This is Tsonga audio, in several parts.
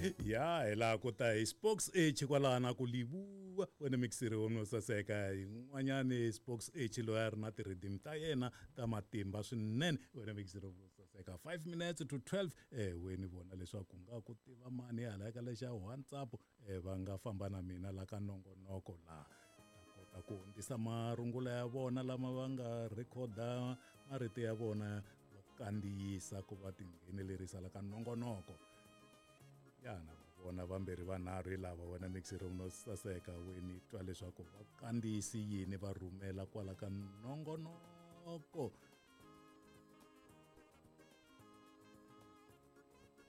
Ya hi laha ku ta hi Spokes H kwalana ku livuwa wena mixiri wo no saseka yin'wanyani Spokes H loyi a ri na ti-rhythm ta yena ta matimba swinene wena mixiri wo saseka 5 minutes to 12 weni vona leswaku nga ku tiva mani hala ka lexa WhatsApp va nga famba na mina la ka nongonoko laha ta kota ku hundzisa marungula ya vona lama va nga rhekhoda marito ya vona va kandziyisa ku va tinghenelerisa la ka nongonoko. Yana vona vambirhi vanharhu hi lava wena mixiri no saseka weni twa leswaku va kandziyisi yini va rhumela kwala ka nongonoko.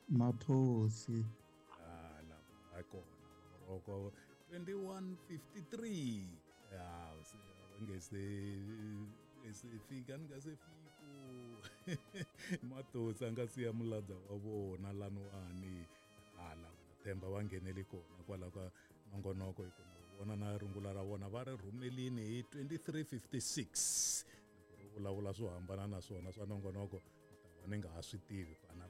Mathosi lava kona roko 2153 ya se nge se fika ni nga se fiku Mathosi a nga siya muladza wa vona laniwani hala themba va ngheneli kona kwala ka nongonoko hi kona vona na rungula ra vona va ri rhumelini hi 2356 loko ri vulavula swo hambana na swona swa nongonoko ni ta va ni nga ha swi tivi kwana.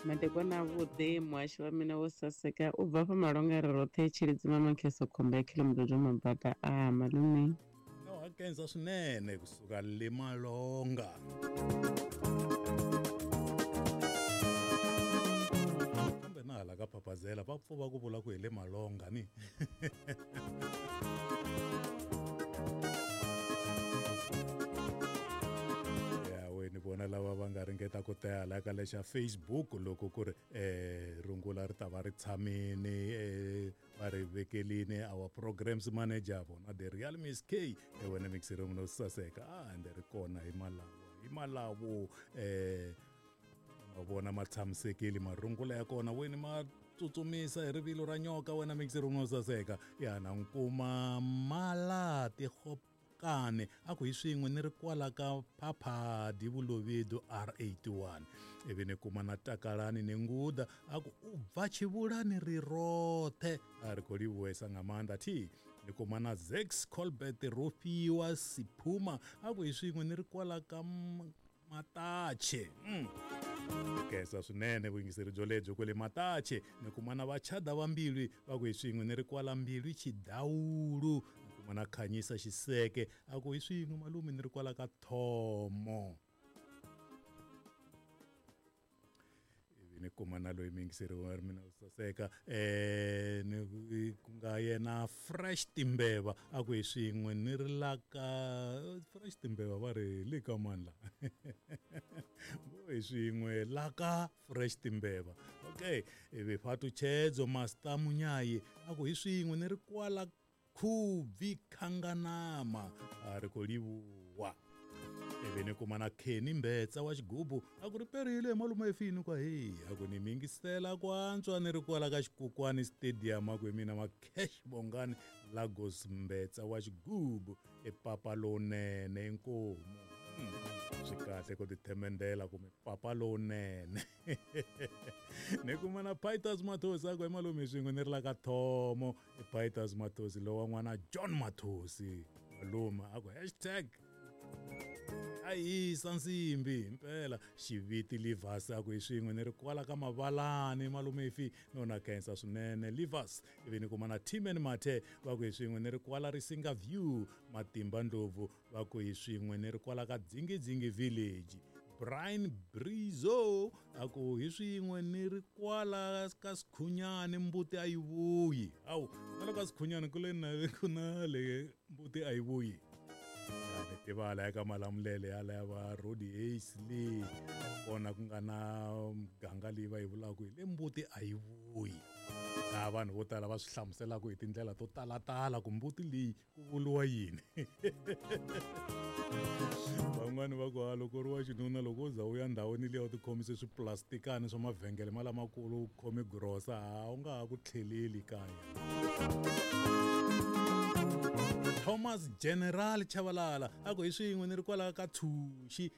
Madekwana avhuḓi muhashi wa mina wo saseka u bva fha Malonga ri roṱhe Tshilidzi Mamakheso khomba ya Khilomudodo Mabaka a malume. No hakenza swinene kusuka le Malonga. Kambe na hala ka Phaphazela va pfuva ku vula ku hi le Malonga ni. Ni vona lava va nga ringeta ku ta hala ka lexa Facebook loko ku ri rungula ri ta va ri tshamini va ri vekelini our programs manager vona the real Miss K wena mixiri no saseka ende ri kona hi malawo ma vona ma tshamisekile marungula ya kona weni ma tsutsumisa hi rivilo ra nyoka wena mixiri no saseka yana nkuma malati kane a ku hi swin'we ni ri kwala ka Phaphadi Vulovedu R81 ivi ni kuma na Takalani ni Nguda a ku u bva Tshivhulani ri roṱhe a ri khou livhuwesa nga maanḓa thi ni kuma na Zex Colbert Rofhiwa Siphuma a ku hi swin'we ni ri kwala ka Matache. Khensa swinene vuyingiseri byo lebyo kwale Matache ni kuma na Vachada va Mbilwi va ku hi swin'we ni ri kwala Mbilwi Chidawulu ni kuma na Khanyisa Xiseke a ku hi swin'we malume ni ri kwala ka Thomo. Ivi ni kuma na loyi muyingiseri wa mina u saseka ni ku nga yena Fresh Timbeva a ku hi swin'we ni ri la ka Fresh Timbeva va ri le ka mani la vo hi swin'we la ka Fresh Timbeva. Okay, ivi Fhatutshedzo Master Munyayi a ku hi swin'we ni ri kwala Khubvi Khanganama a ri khou livhuwa. Ivi ni kuma na Kenny Mbetsa wa Xigubu a ku ri perile malume efini kwa hi a ku ni mingisela ku antswa ni ri kwala ka Xikukwani Stadium a ku hi mina Makesh Bongani Lagos Mbetsa wa Xigubu i papa lowunene inkomu. Swi kahle ku tithemendela kumbe papa lowunene. Ni kuma na Pitus Mathosi a ku hi malume swin'we ni ri la ka Thomo i Pitus Mathosi lowa n'wana John Mathosi malume a ku hashtag a hisa nsimbi impela Xiviti Livas a ku hi swin'we ni ri kwala ka Mavalani malume ifi no na khensa swinene Livas. Ivi ni kuma na Timen Mathe va ku hi swin'we ni ri kwala Risinga View Matimba Ndlovu va ku hi swin'we ni ri kwala ka Dzingidzingi Village Brian Brizo a ku hi swin'we ni ri kwala ka Sikhunyani mbuti a yi vuyi. Awu na loko ka Sikhunyani ku le na ku na le mbuti a yi vuyi. Ni tivala eka Malamulele yala ya va Rodi Ace le kona ku nga na muganga leyi va yi vulaka hi le mbuti a yi vuyi. Laha vanhu vo tala va swi hlamuselaka hi tindlela to talatala ku mbuti leyi ku vuriwa yini. Van'wani va ku loko ri wa xinuna loko u za u ya ndhawini liya u tikhomise swiplastikani swa mavhengele ma lamakulu u khome grosa a wu nga ha ku tlheleli kaya. Thomas General Chabalala a ku hi swin'we ni ri kwala ka Tshuxi.